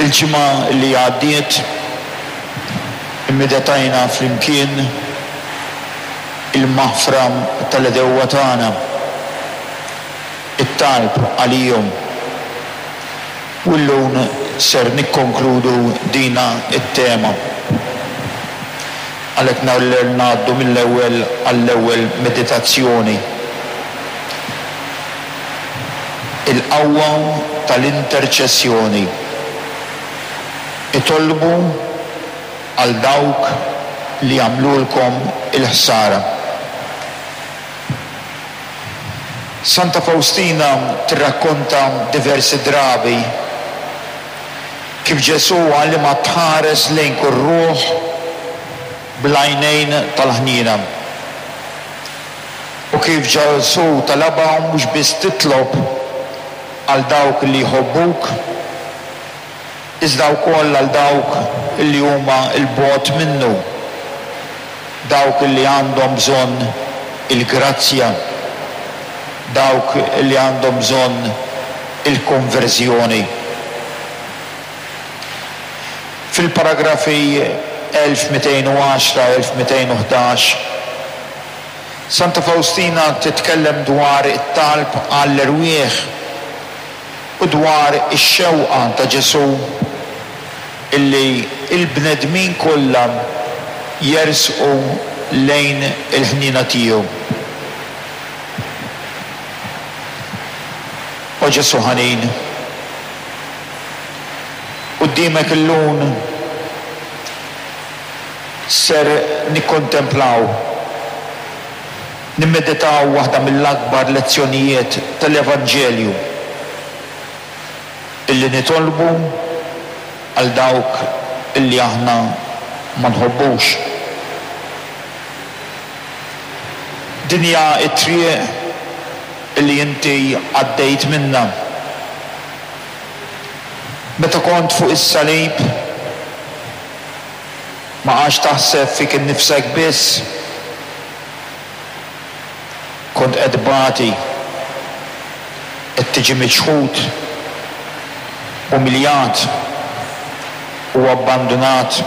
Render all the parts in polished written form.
Il-ġimgħa li għaddiet immedetajna flimkien il-maħfra tal-għedewwa tagħna, it-talb għalihom. U llum ser nikkonkludu dina t-tema. Għalhekk ngħaddu mill-ewwel għall-ewwel meditazzjoni. Il-qawwa tal-interċessjoni. Itolbu għal dawk li għamlulkom il-ħsara. Santa Fawstina tirrakkonta diversi drabi kif Ġesù għallimha tħares lejn kull ruħ bl-għajnejn tal-ħniena. U kif Ġesù talabha mhux biss titlob għal dawk li jħobbuk, iżda wkoll għal dawk li huma 'l bogħod minnu, dawk li għandhom bżonn il-grazzja, dawk li għandhom bżonn il-konverżjoni. Fil-paragrafi 1210, 1211, Santa Fawstina titkellem dwar it-talb għall-erwieħ u dwar ix-xewqa ta' Ġesù illi l-bnedmin kollha jersqu lejn il-ħniena tiegħu. O Ġesù ħanin, quddiemek illum ser nikkontemplaw, nimmeditaw waħda mill-akbar lezzjonijiet tal-Evanġelju, illi nitolbu għal dawk illi aħna ma nħobbux. Din hija t-triq illi inti għaddejt minnha. Meta kont fuq is-salib, Ma għadx taħseb fik innifsek biss. Kont qed tbati, qed tiġi miċħud, umiljat u abbandunat.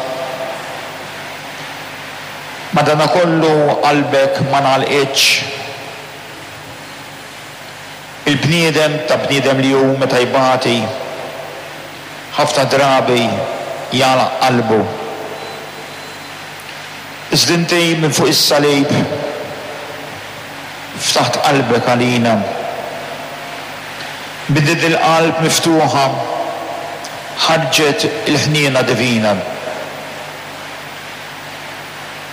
Madanakollu qalbek ma ngħalqitx. Il-bniedem ta' bniedem li hu meta jbati, ħafna drabi jagħlaq qalbu. Iżda inti minn fuq is-salib ftaħt qalbek għalina. Minn din il-qalb miftuħa ħarġet il-ħniena divina.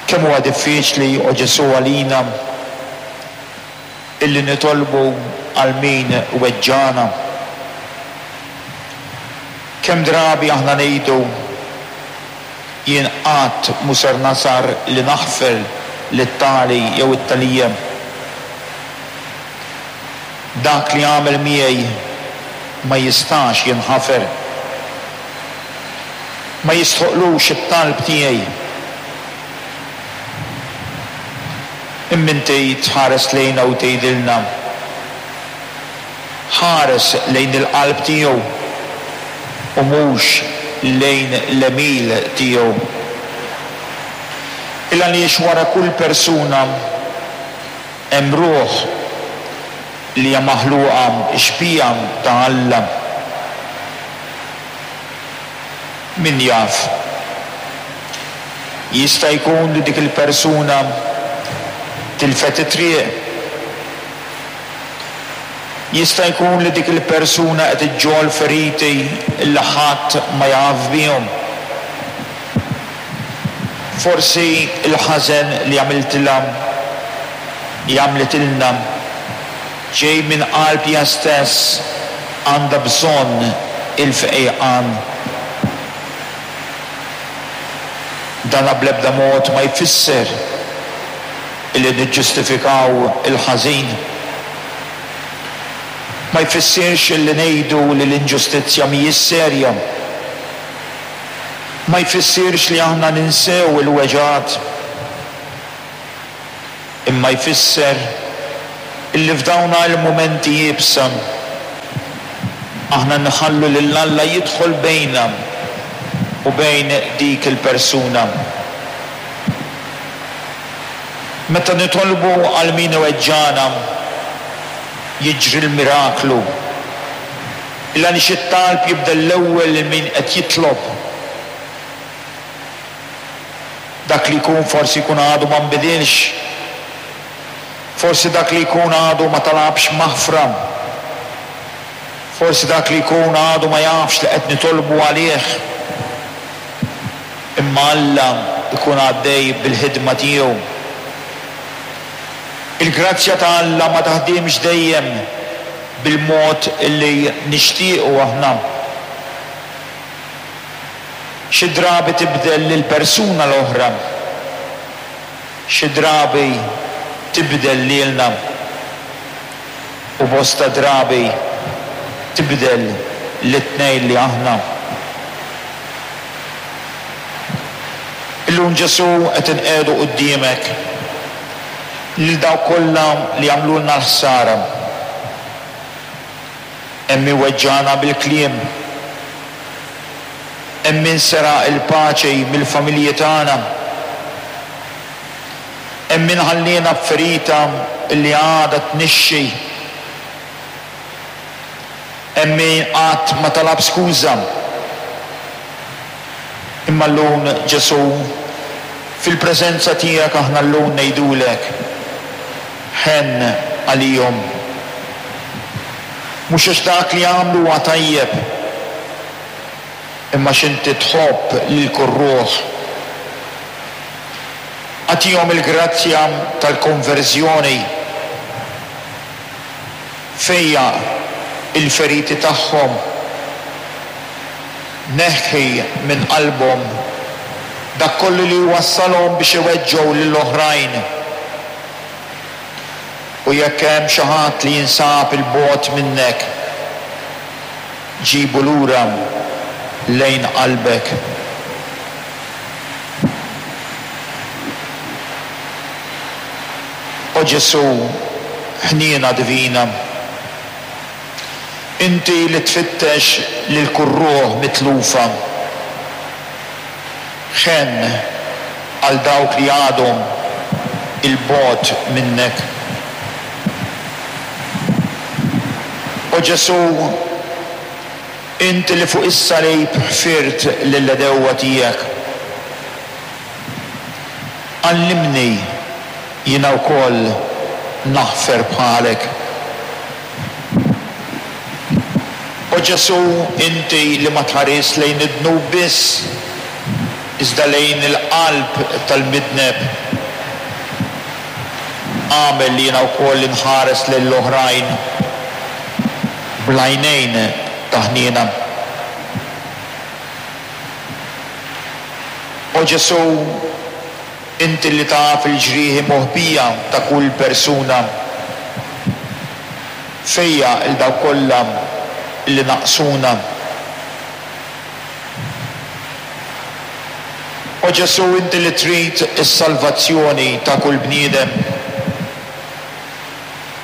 Kemm huwa diffiċli, o Ġesù, għalina Illi nitolbu għal min weġġagħna. Kemm drabi aħna ngħidu, Jien qatt mhu ser nasar li naħfer lit-tali jew it-talija. Dak li għamel miegħi ma jistax jinħafer. Ma jistħoqqlux it-talb tiegħi. Imma inti tħares lejna u tgħidilna, Ħares lejn il-qalb tiegħu u mhux lejn l-għemil tiegħu. Il-għaliex wara kull persuna hemm ruħ li hija maħluqa xbieha ta' Alla. Min jaf? Jista' jkun li dik il-persuna tilfet it-triq. Jista' jkun li dik il-persuna qed iġġorr feriti li ħadd ma jaf bihom. Forsi l-ħażen li għamiltilha, li għamlitilna, ġej minn qalb hija stess għandha bżonn il-fejqan. Dana bl-ebda mod ma jfisser illi niġġustifikaw il-ħażin. Ma jfissirx illi ngħidu li l-inġustizzja mhijiex serja. Ma jfissirx li aħna ninsew il-weġgħat. Imma jfisser illi f'dawna il-mumenti iebsa, aħna nħallu lil Alla jidħol bejna. u bejn dik il-persuna. Meta nitolbu għal min iweġġagħna, jiġri l-miraklu. Il-għaliex it-talb jibda l-ewwel lil min qed jitlob. Dak li jkun forsi jkun għadu ma nbidilx. Forsi dak li jkun għadu ma talabx maħfra. Forsi dak li jkun għadu ma jafx li qed nitolbu għalih. Imma Alla jkun għaddej bil-ħidma tiegħu. Il-grazzja ta' Alla ma taħdimx dejjem bil-mod li nixtiequ aħna. Xi drabi tibdel lill-persuna l-oħra. Xi drabi tibdel lilna u bosta drabi tibdel lit-tnejn li aħna. Illum Ġesù qed inqiegħdu quddiemek lil dawk kollha li għamlulna l-ħsara. Hemm min weġġagħna bil-kliem. Hemm min seraq il-paċi mill-familji tagħna. Hemm min ħalliena b'ferita li għadha tnixxi. Hemm min qatt ma talab skuża. Imma llum, Ġesù, fil-preżenza tiegħek aħna llum ngħidulek, Ħenn għalihom. Mhux għax dak li għamlu huwa tajjeb, imma għax inti tħobb lil kull ruħ. Agħtihom il-grazzja tal-konverżjoni. Fejjaq il-feriti tagħhom. Neħħi minn qalbhom dak kollu li jwassalhom biex iweġġgħu lil oħrajn. U jekk hemm xi ħadd li jinsab 'il bogħod minnek, ġibu lura lejn qalbek. O Ġesù, ħniena divina, inti li tfittex lil kull ruħ mitlufa, Ħenn għal dawk li għadhom 'il bogħod minnek. O Ġesù, inti li fuq is-salib ħfirt lill-għedewwa tiegħek, għallimni jiena wkoll naħfer bħalek. O Ġesù, inti li ma tħarisx lejn id-dnub biss, iżda lejn il-qalb tal-midneb, agħmel li jiena wkoll inħares lejn l-oħrajn bl-għajnejn ta' ħniena. O Ġesù, Inti li taf il-ġrieħi moħbija ta' kull persuna, fejjaq 'il dawk kollha li naqsuna. O Ġesù, inti li trid is-salvazzjoni ta' kull bniedem,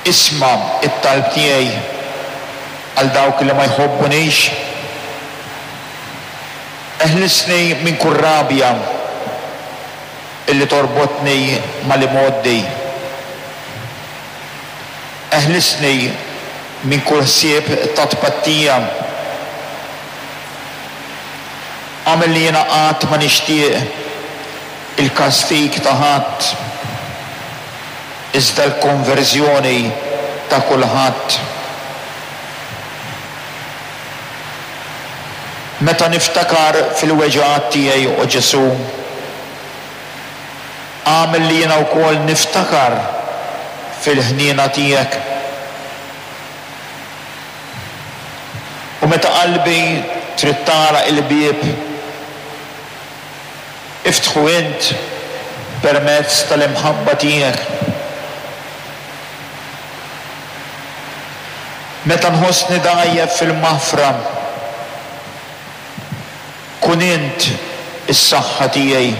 isma' t-talb tiegħi għal dawk li ma jħobbunix. Eħlisni minn kull rabja illi torbotni mal-imgħoddi. Eħlisni minn kull ħsieb ta' tpattija. Agħmel li jiena qatt ma nixtieq il-kastig ta' ħadd, iżda l-konverżjoni ta' kulħadd. Meta niftakar fil-weġgħat tiegħi, o Ġesù, agħmel li jiena wkoll niftakar fil-ħniena tiegħek. U meta qalbi trid tagħlaq il-bieb, iftħu int permezz tal-imħabba tiegħek. Meta nħossni dgħajjef fil-maħfra, kun int is-saħħa tiegħi.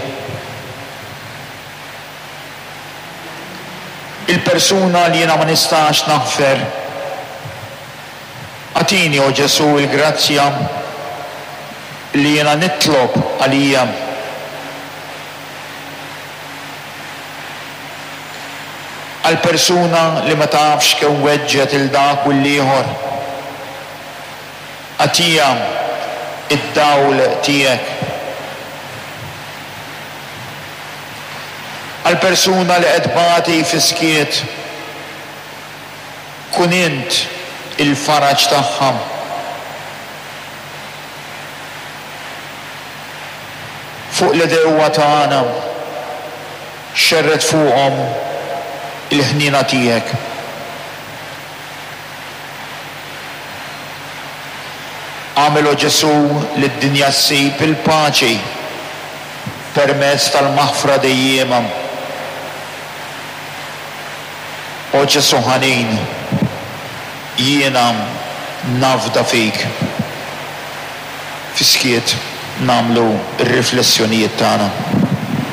Il-persuna li jiena ma nistax naħfer, agħtini, o Ġesù, il-grazzja. Li jiena nitlob għalija. Għal persuna li ma tafx kemm weġġgħet 'il dak u l-ieħor. Agħtiha d-dawl tiegħek. Għal persuna li qed tbati fis-skiet, kun int il-faraġ tagħha. Fuq l-għedewwa tagħna, xerred fuqhom il-ħniena tiegħek. Agħmel, O Ġesù, li d-dinja ssib il-paċi permezz tal-maħfra dejjiema. O Ġesù ħanin, jiena nafda fik. Fis-skiet nagħmlu r-riflessjonijiet tagħna.